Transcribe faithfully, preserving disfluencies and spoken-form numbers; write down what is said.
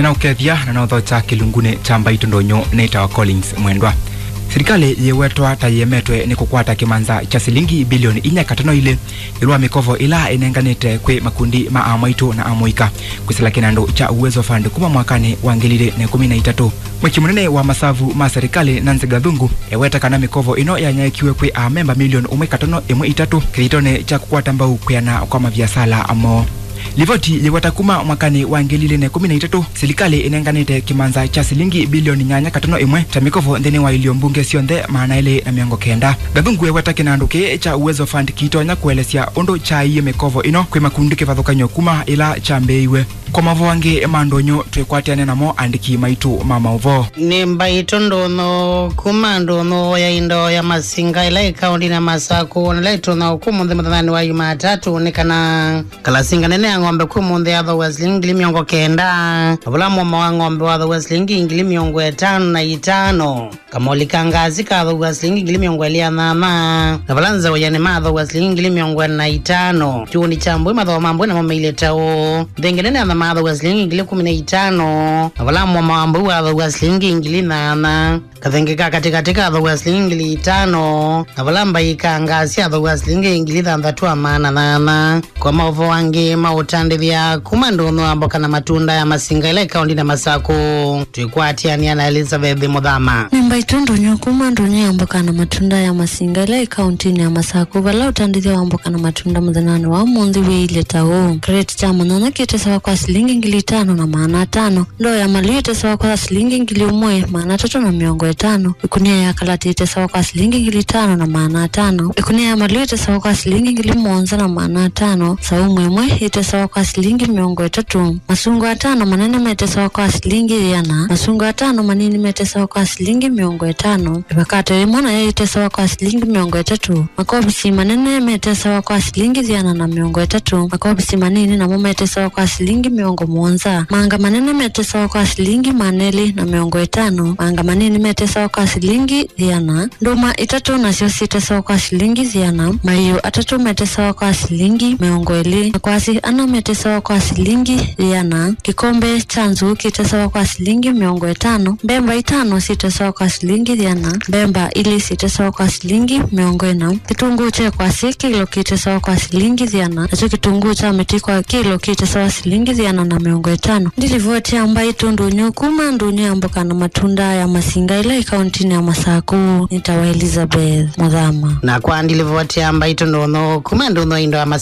Nĩnaũkethya na nothokya kĩlungunĩ kya mbaitũ ndũnyũ nĩtawa Collins Mwendwa. Silikalĩ yĩwetwa ta yĩemetwe nĩ kũkwata kĩmanza kya silingi bilioni inya katano ilĩ ĩũlũ wa mĩkovo ĩla ĩnenganĩte kwĩ makundi ma amwaitũ na amũika kwĩsĩla kĩnandũ kya Uwezo Fund kuma mwakanĩ wa ngili ilĩ na ĩkũmi na itatũ. Mwĩki mũnene wa masavu ma serikali Nancy Gathungu eweta kana mĩkovo ĩno yanyaĩĩkiwe kwĩ amemba milioni ũmwe katano ĩmwe itatũ kĩthitonĩ kya kũkwata mbau kwĩana kwa maviasala moo. Livoti yĩweta kuma mwakanĩ wa ngili ilĩ na ĩkũmi na itatũ, silikalĩ ĩnenganĩte kĩmanza kya silingi bilioni nyanya katano ĩmwe ta mĩkovo nthĩnĩ wa ilio mbunge syonthe maana elĩ na mĩongo kenda. Gathungu eweta kĩnandũ kĩĩ kya Uwezo Fund kĩitonya kũelesya ũndũ kyaie mĩkovo ĩno kwĩ makundi kĩvathũkany'o kuma ĩla kyambĩĩiwe. Kwa maũvoo angĩ ma ndũnyũ twĩkwatĩane namo andĩki maitũ ma maũvoo. Nĩ mbaitũ ndũnyũ kuma ndũnyũ ya indo ya masinga ĩla ĩ kaũndĩnĩ ya Masaku, na ĩla ĩtũnywa ũkũmũnthĩ mũthenyanĩ wa Yumatatũ nĩ kana kalasinga nene ya ng'ombe kũmũnthĩ yathooa silingi ngili mĩongo kenda, na vala mũomo wa ng'ombe wathooa silingi ngili mĩongo ĩtano na itano. Kamoli ka ngasi kathooa silingi ngili mĩongo ĩlĩ na nyanya, na vala nzeũyanĩ mathooa silingi ngili mĩongo ĩna na itano. Kĩundi kya mbũi mathooa ma mbũi namo mailye ta ũũ. Nthenge nene ya nyama yathooa silingi ngili kũmi na itano, na vala mũomo wa mbũi wathooa silingi ngili nyanya. Kathenge ka katĩkatĩ kathooa silingi ngili itano, na vala mbai ka ngasi yathooa silingi ngili thanthatũ na maana nyanya. Kwa maũvoo angĩ ma ũtandĩthya kuma ndũnyũ ya mboka na matunda ya Masinga ĩla ĩ kaũndĩnĩ ya Masaku, twĩkwatĩanĩa na Elizabeth Mũthama. Nĩ mbaitũ ndũnyũ kuma ndũnyũ ya mboka na matunda ya Masinga ĩla ĩ kaũndĩnĩ ya Masaku, vala ũtandĩthya wa mboka na matunda mũthenyanĩ wa ũmũnthĩ wĩilye ta ũũ. Kĩreti kya manyanya kĩtesawa kwa silingi ngili itano na maana atano, ndoo ya malĩu ĩtesawa kwa silingi ngili ũmwe maana atatũ na mĩongo ĩtano, ĩkunia ya kalatĩ ĩtesawa kwa silingi ngili itano na maana atano, ĩkunia ya malĩu ĩtesawa kwa silingi ngili mũonza na maana atano, saumu ĩmwe ĩtesawa kwa silingi mĩongo ĩtatũ, masungwa atano manene metesawa kwa silingi ĩana, masungwa atano manini metesawa kwa silingi mĩongo ĩtano, ĩvakate yĩmwe nayo ĩtesawa kwa silingi mĩongo ĩtatũ, makobisi manene metesawa kwa silingi ĩana na mĩongo ĩtatũ, makobisi manini namo metesawa kwa silingi mĩongo mũonza, maanga manene metesawa kwa silingi maana elĩ na mĩongo ĩtano, maanga manini metesawa kwa silingi ĩana, ndũma itatũ nasyo syĩtesawa kwa silingi ĩana, maiũ atatũ metesawa kwa silingi mĩongo ĩlĩ, makwasi ana metesawa kwa silingi ĩana, kĩkombe kya nzũũ kĩtesawa kwa silingi mĩongo ĩtano, mbemba itano syĩtesawa kwa silingi ĩana, mbemba ilĩ syĩtesawa kwa silingi mĩongo ĩna, kĩtũngũũ kya kwasi kĩlo kĩtesawa kwa silingi ĩana, nakyo kĩtũngũũ kya mĩtĩ kwa kĩlo kĩtesawa silingi ĩana na mĩongo ĩtano. Nĩ livoti ya mbaitũ ndũnyũ kuma ndũnyũ ya mboka na matunda ya Masinga ĩla ĩ kaũndĩnĩ ya Masaku, nĩtawa Elizabeth Mũthama. Na kwa nĩ livoti ya mbaitũ ndũnyũ kuma ndũnyũ ya indo ya Masinga